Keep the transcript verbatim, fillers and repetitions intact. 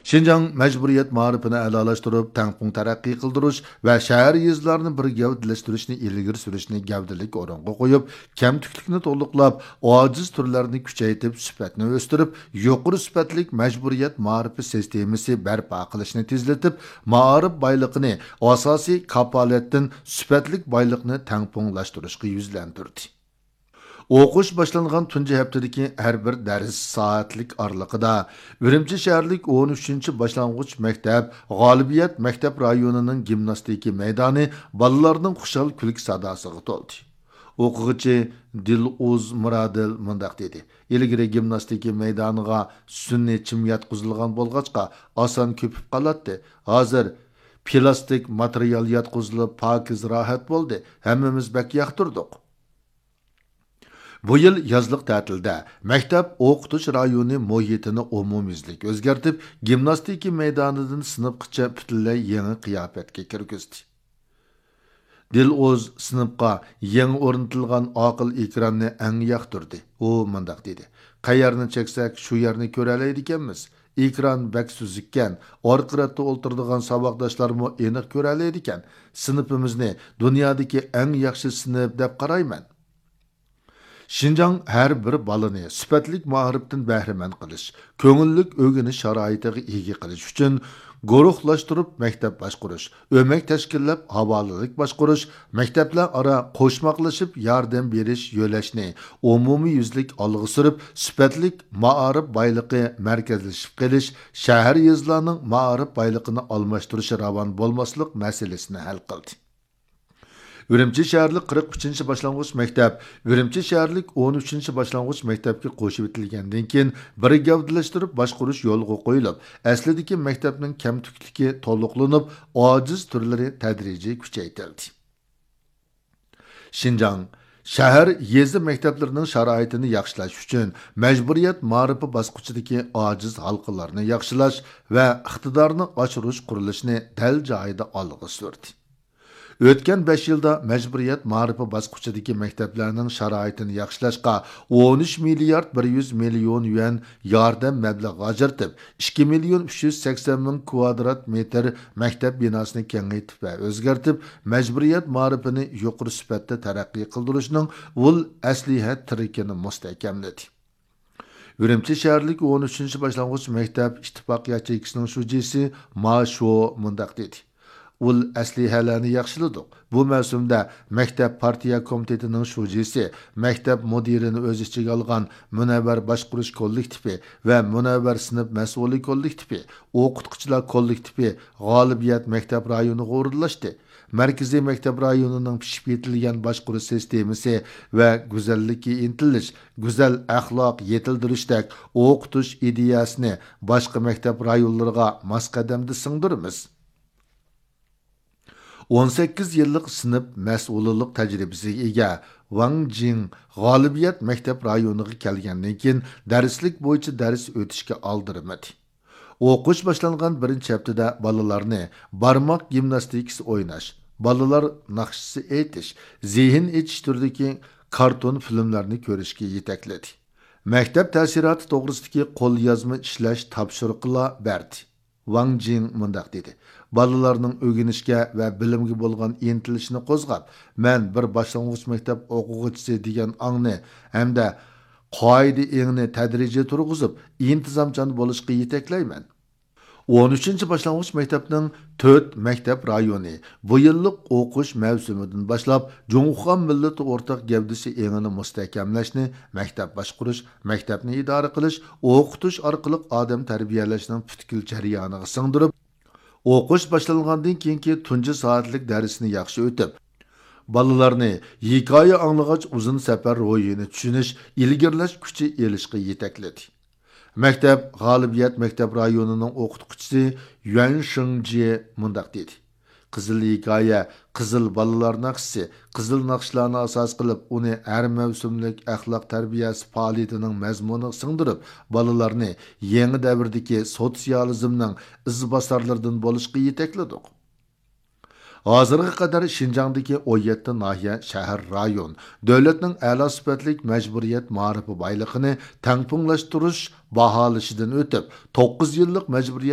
شىنجاڭ مەجبۇرىيەت مائارىپىنى ئەلالاشتۇرۇپ، تەڭپۇڭ تەرەققىي قىلدۇرۇش ۋە شەھەر، يېزىلارنى بىر گەۋدىلەشتۈرۈشنى ئىلگىرى سۈرۈشنى گەۋدىلىك ئورۇنغا قويۇپ، كەمتۈكلۈكنى تولۇقلاپ، ئاجىز تۈرلەرنى كۈچەيتىپ، سۈپەتنى ئۆستۈرۈپ، يۇقىرى سۈپەتلىك مەجبۇرىيەت مائارىپى سىستېمىسى بەرپا قىلىشنى تېزلىتىپ، مائارىپ بايلىقىنى ئاساسىي كاپالەتتىن سۈپەتلىك بايلىقنى تەڭپۇڭلاشتۇرۇشقا يۈزلەندۈردى. ئوقۇش باشلانغان تۇنجى ھەپتىدىكى ھەر بىر دەرس سائەتلىك ئارىلىقىدا ئۈرۈمچى شەھەرلىك ئون ئۈچىنچى باشلانغۇچ مەكتەپ غالىبىيەت مەكتەپ رايونىنىڭ گىمناستىكا مەيدانى بالىلارنىڭ خۇشال كۈلكە ساداسىغا تولدى. ئوقۇغۇچى دىلئۇز مۇرادىل مۇنداق دېدى: «ئىلگىرى گىمناستىكا مەيدانىغا سۈنئىي چىم ياتقۇزۇلغان بولغاچقا، ئاسان كۆپۈپ قالاتتى. ھازىر پىلاستىك ماتېرىيال ياتقۇزۇلۇپ، پاكىز، راھەت بولدى. ھەممىمىز بەك ياقتۇردۇق.» بۇ يىل يازلىق تەتىلدە مەكتەپ ئوقۇتۇش رايونى مۇھىتىنى ئومۇميۈزلۈك ئۆزگەرتىپ، گىمناستىكا مەيدانىدىن سىنىپقىچە پۈتۈنلەي يېڭى قىياپەتكە كىرگۈزدى. دىلئۇز سىنىپقا يېڭى ئورنىتىلغان ئاقىل ئېكراننى ئەڭ ياقتۇردى. ئۇ مۇنداق دېدى: «قەيەرنى چەكسەك، شۇ يەرنى كۆرەلەيدىكەنمىز. ئېكران بەك سۈزۈككەن، ئارقا رەتتە ئولتۇرىدىغان ساۋاقداشلارمۇ ئېنىق كۆرەلەيدىكەن. سىنىپىمىزنى دۇنيادىكى ئەڭ ياخشى سىنىپ دەپ قارايمەن.» شىنجاڭ ھەر بىر بالىنى سۈپەتلىك مائارىپتىن بەھرىمەن قىلىش، كۆڭۈللۈك ئۆگىنىش شارائىتىغا ئىگە قىلىش ئۈچۈن، گۇرۇھلاشتۇرۇپ مەكتەپ باشقۇرۇش، ئۆمەك تەشكىللەپ ھاۋالىلىك باشقۇرۇش، مەكتەپلەر ئارا قوشماقلىشىپ ياردەم بېرىش يۆلەشنى ئومۇميۈزلۈك ئالغا سۈرۈپ، سۈپەتلىك مائارىپ بايلىقى مەركەزلىشىپ قېلىش، شەھەر، يېزىلارنىڭ مائارىپ بايلىقىنى ئالماشتۇرۇشى راۋان بولماسلىق مەسىلىسىنى ھەل قىلدى. ئۈرۈمچى شەھەرلىك قىرىق ئۈچىنچى باشلانغۇچ مەكتەپ ئۈرۈمچى شەھەرلىك ئون ئۈچىنچى باشلانغۇچ مەكتەپكە قوشۇۋېتىلگەندىن كېيىن، بىر گەۋدىلەشتۈرۈپ باشقۇرۇش يولغا قويۇلۇپ، ئەسلىدىكى مەكتەپنىڭ كەمتۈكلۈكى تولۇقلىنىپ، ئاجىز تۈرلىرى تەدرىجىي كۈچەيتىلدى. شىنجاڭ شەھەر، يېزا مەكتەپلىرىنىڭ شارائىتىنى ياخشىلاش ئۈچۈن، مەجبۇرىيەت مائارىپى باسقۇچىدىكى ئاجىز ھالقىلارنى ياخشىلاش ۋە ئىقتىدارنى ئاشۇرۇش قۇرۇلۇشىنى دەل جايىدا ئالغا سۈردى. ئۆتكەن بەش يىلدا مەجبۇرىيەت مائارىپى باسقۇچىدىكى مەكتەپلەرنىڭ شارائىتىنى ياخشىلاشقا ئون ئۈچ مىليارد بىر يۈز مىليون يۈەن ياردەم مەبلىغى ئاجرىتىپ، ئىككى مىليون ئۈچ يۈز سەكسەن مىڭ كۋادرات مېتىر مەكتەپ بىناسىنى كېڭەيتىپ ۋە ئۆزگەرتىپ، مەجبۇرىيەت مائارىپىنى يۇقىرى سۈپەتتە تەرەققىي قىلدۇرۇشنىڭ ئۇل ئەسلىھە تىرىكىنى مۇستەھكەملىدى. ئۈرۈمچى شەھەرلىك ئون ئۈچىنچى باشلانغۇچ مەكتەپ ئىتتىپاق ياچېيكىسىنىڭ شۇجىسى ما شو مۇنداق دېدى: «ئۇل ئەسلىھەلەرنى ياخشىلىدۇق. بۇ مەۋسۇمدە مەكتەپ پارتىيە كومىتېتىنىڭ شۇجىسى، مەكتەپ مۇدىرىنى ئۆز ئىچىگە ئالغان مۇنەۋۋەر باشقۇرۇش كوللېكتىپى ۋە مۇنەۋۋەر سىنىپ مەسئۇلى كوللېكتىپى، ئوقۇتقۇچىلار كوللېكتىپى غالىبىيەت مەكتەپ رايونىغا ئورۇنلاشتى. مەركىزىي مەكتەپ رايونىنىڭ پىشىپ يېتىلگەن باشقۇرۇش سىستېمىسى ۋە گۈزەللىككە ئىنتىلىش، گۈزەل ئەخلاق يېتىلدۈرۈشتەك ئوقۇتۇش ئىدىيەسىنى باشقا مەكتەپ رايونلىرىغا ماس قەدەمدە سىڭدۈرىمىز.» ئون سەككىز يىللىق سىنىپ مەسئۇلىنىڭ تەجرىبىسىگە ئىگە ۋاڭ جىڭ غالىبىيەت مەكتەپ رايونىغا كەلگەندىن كېيىن، دەرسلىك بويىچە دەرس ئۆتۈشكە ئالدىرىمىدى. ئوقۇش باشلانغان بىرىنچى ھەپتىدە بالىلارنى بارماق گىمناستىكىسى ئويناش، بالىلار ناخشىسى ئېيتىش، زېھىن ئېچىش تۈرىدىكى كارتون فىلىملەرنى كۆرۈشكە يېتەكلىدى. مەكتەپ تەسىراتى توغرىسىدىكى قوليازما ئىشلەش تاپشۇرۇقىلا بەردى. ۋاڭ جىڭ مۇنداق دېدى: «بالىلارنىڭ ئۆگىنىشكە ۋە بىلىمگە بولغان ئىنتىلىشىنى قوزغاپ، مەن بىر باشلانغۇچ مەكتەپ ئوقۇغۇچىسى دېگەن ئاڭنى ھەمدە قائىدە ئېڭىنى تەدرىجىي تۇرغۇزۇپ، ئىنتىزامچان بولۇشقا يېتەكلەيمەن.» ئون ئۈچىنچى باشلانغۇچ مەكتەپنىڭ تۆت مەكتەپ رايونى بۇ يىللىق ئوقۇش مەۋسۇمىدىن باشلاپ، جۇڭخۇا مىللىتى ئورتاق گەۋدىسى ئېڭىنى مۇستەھكەملەشنى مەكتەپ باشقۇرۇش، مەكتەپنى ئىدارە قىلىش، ئوقۇتۇش ئارقىلىق ئادەم تەربىيەلەشنىڭ پۈتكۈل جەريانىغا سىڭدۈرۈپ، ئوقۇش باشلانغاندىن كېيىنكى تۇنجى سائەتلىك دەرسنى ياخشى ئۆتۈپ، بالىلارنى ھېكايە ئاڭلىغاچ ئۇزۇن سەپەر روھىنى چۈشىنىش، ئىلگىرىلەش كۈچى ئېلىشقا يېتەكلىدى. مەكتەپ غالىبىيەت مەكتەپ رايونىنىڭ ئوقۇتقۇچىسى يۈەن شېڭجيې مۇنداق دېدى: «قىزىل ھېكايە، قىزىل بالىلار ناخشىسى، قىزىل ناخشىلارنى ئاساس قىلىپ، ئۇنى ھەر مەۋسۇملۇق ئەخلاق تەربىيەسى پائالىيىتىنىڭ مەزمۇنىغا سىڭدۈرۈپ، بالىلارنى يېڭى دەۋردىكى سوتسىيالىزمنىڭ ئىزباسارلىرىدىن بولۇشقا يېتەكلىدۇق.» ھازىرغا قەدەر شىنجاڭدىكى ئون يەتتە ناھىيە، شەھەر، رايون دۆلەتنىڭ ئەلا سۈپەتلىك مەجبۇرىيەت مائارىپى بايلىقىنى تەڭپۇڭلاشتۇرۇش باھالىشىدىن ئۆتۈپ، توققۇز يىللىق مەجبۇرىيەت